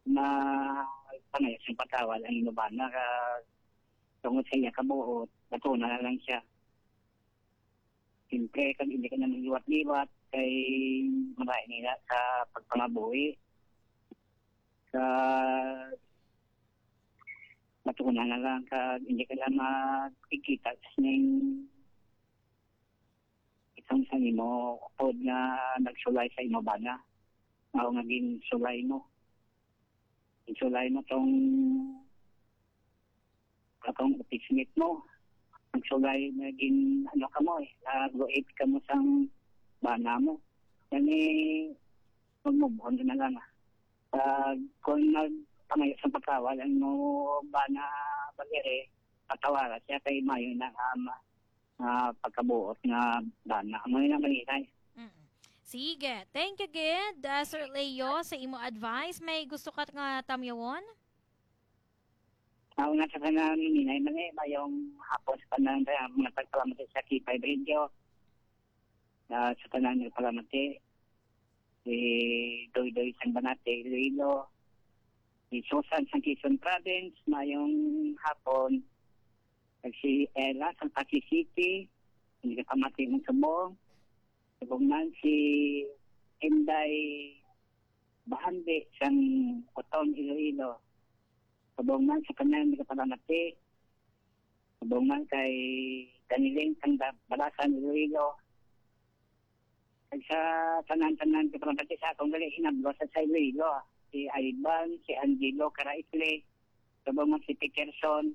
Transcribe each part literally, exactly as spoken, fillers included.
ma-, pangayas ang pagkawal ang imo bana, ka tungod sa iya kabuot, batuna na lang siya. Siyempre, kag hindi ka na magliwat-liwat, kay maray nila sa pagpangabuhi. Sa batuna na lang, kag hindi ka na magkikita sa ning isang sa imo upod nga nagsulay sa imo bana. Mao nga ginsulay mo. Ginsulay mo tong, katong office mate mo. Nagsulay na gin, ano ka mo eh, nag-rape ka mo sang bana mo. Gani, mag-move on na lang, ah. Ah, kung nagpangayo sa pagkawal ang mo bana, bagere, patawara siya kay mayo na nga ma-, ah, pagkabuot nga bana. Amo na lang, Malinay. Mm. Sige. Thank you, gid, ah, Sir Leo, sa imo advice. May gusto ka nga tamyawon? Ako nga sa tanan, Malinay, mali, mayong hapon sa tanan, kaya mga tagpalamat sa K five Radio. Ah, sa tanan, nagpalamati. Si Doydoy sang Banate, Iloilo. Si Susan sang Quezon Province, mayong hapon. Kag si Ella sang Passi City, hindi ka pamati ng subong. Subong man si Inday Bahandi sang Oton, Iloilo. Subong man sa tanan, hindi ka pamati. Subong man kay Daniling sang Da-, Balasan, Iloilo. Kag sa tanan-tanan, ka pamati sa akong gali, hinablo sa, sa Iloilo. Si Ivan, si Angelo Caraisle, subong man si Peterson.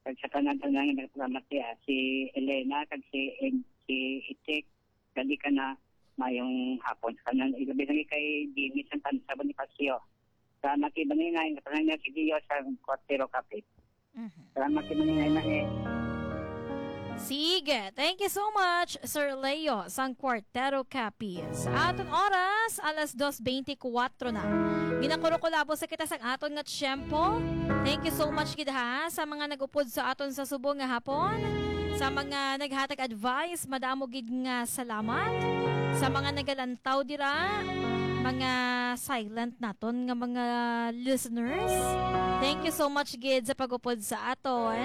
Kag sa tanan-tanan nga nagpamati, ah, si Elena, kag si Ed-, si Itik, gali ka na, mayong hapon sa tanan. Ilabi na kay Jimmy Santanza Bonifacio. Sa Mati Banginay, nga tanan nga si Gio sa Kwartero Kapit. Mhm. Salamat sa Banginay na eh. Sige. Thank you so much, Sir Leo, sang Kwartero Capiz. Aton oras, alas dos beintikwatro na. Ginakurukulabo sa kita sang aton nga tiyempo. Thank you so much, gid, ha, sa mga nag-upod sa aton sa subong nga hapon. Sa mga naghatag advice, madamo gid nga salamat. Sa mga nagalantaw dira, mga silent naton nga mga listeners, thank you so much gid sa pag-upod sa aton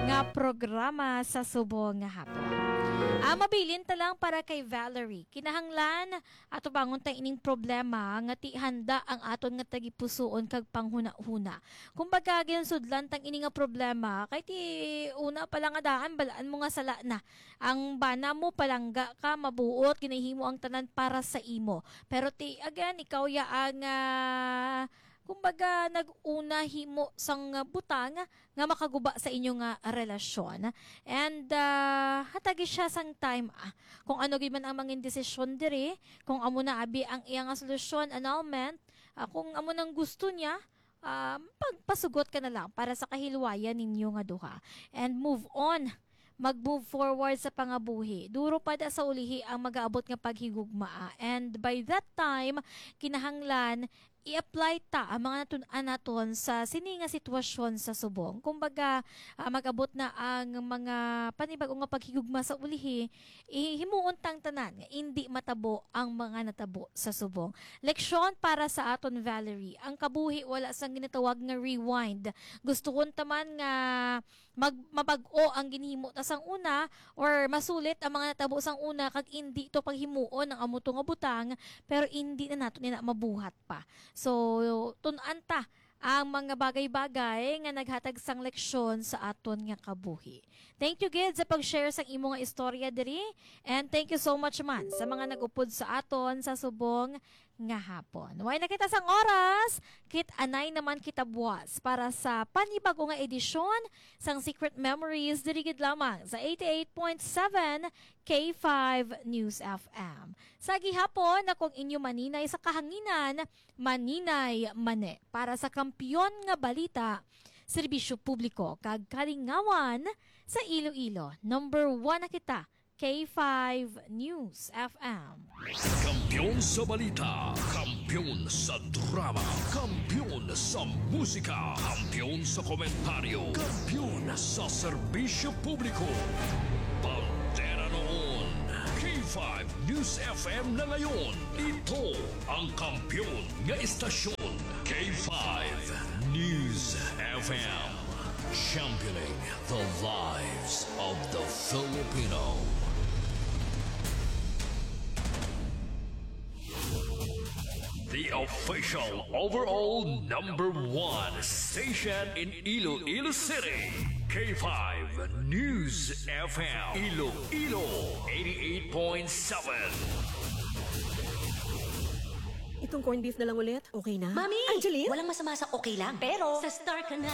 nga programa sa subong nga hapon. Ah, mabilin ta lang para kay Valerie. Kinahanglan atubangon ta ining problema nga ti handa ang aton nga tagipusoon kag panghunahuna. Kumbaga, ginsudlan tang ini nga problema kay ti una pa lang nga daan, balaan mo nga sala na ang bana mo, palangga ka, mabuot, ginahimo ang tanan para sa imo. Pero ti, again, ikaw ya ang, ah, kumbaga, nag-una himo sang butang nga makaguba sa inyo nga relasyon. And, ah, hatagi siya sang time, ah, kung ano gid man ang mangin desisyon diri, kung amo na abi ang iya nga solusyon, annulment, ah, kung amo nang gusto niya, ah, pagpasugot ka na lang para sa kahilwayan ninyo nga duha. And move on. Mag-move forward sa pangabuhi. Duro pa da sa ulihi ang magaabot nga paghigugmaa. And by that time, kinahanglan i-apply ta ang mga natun-an naton sa sini nga sitwasyon sa subong. Kumbaga, ah, mag-abot na ang mga panibag-o nga paghigugma sa ulihi, himuon tang tanan nga indi matabo ang mga natabo sa subong. Leksyon para sa aton, Valerie. Ang kabuhi wala sang ginatawag nga rewind. Gustuhon ta man nga mag-, mabag-o ang ginhimo ta sang una or masulit ang mga natabo sang una kag indi to paghimuon ang amo to nga butang, pero indi na nato nila mabuhat pa. So, tun-an ta ang mga bagay-bagay nga naghatag sang leksyon sa aton nga kabuhi. Thank you gid sa pag-share sang imo nga istorya diri, and thank you so much man sa mga nag-upod sa aton sa subong nga hapon. Way na kita sang oras, kit-anay naman kita buwas para sa panibag-o nga edisyon sang Secret Memories diri gid lamang sa eighty-eight point seven K five News F M. Sa gihapon, ako ang inyo maninay sa kahanginan, Maninay Mane, para sa Kampiyon nga Balita, Serbisyo Publiko, kag Kalingawan sa Iloilo. Number one na kita, K five News F M. Kampiyon sa balita, kampiyon sa drama, kampiyon sa musika, kampiyon sa komentaryo, kampiyon sa serbisyo publiko. Bandera noon, K five News F M na ngayon. Ito ang kampiyon nga estasyon, K K five News F M, championing the lives of the Filipino. The official overall number one station in Iloilo City, K five News F M, Iloilo eighty-eight point seven. Itong corned beef na lang ulit. Okay na? Mami! Angeline? Walang masama sa okay lang. Pero, sa star ka na.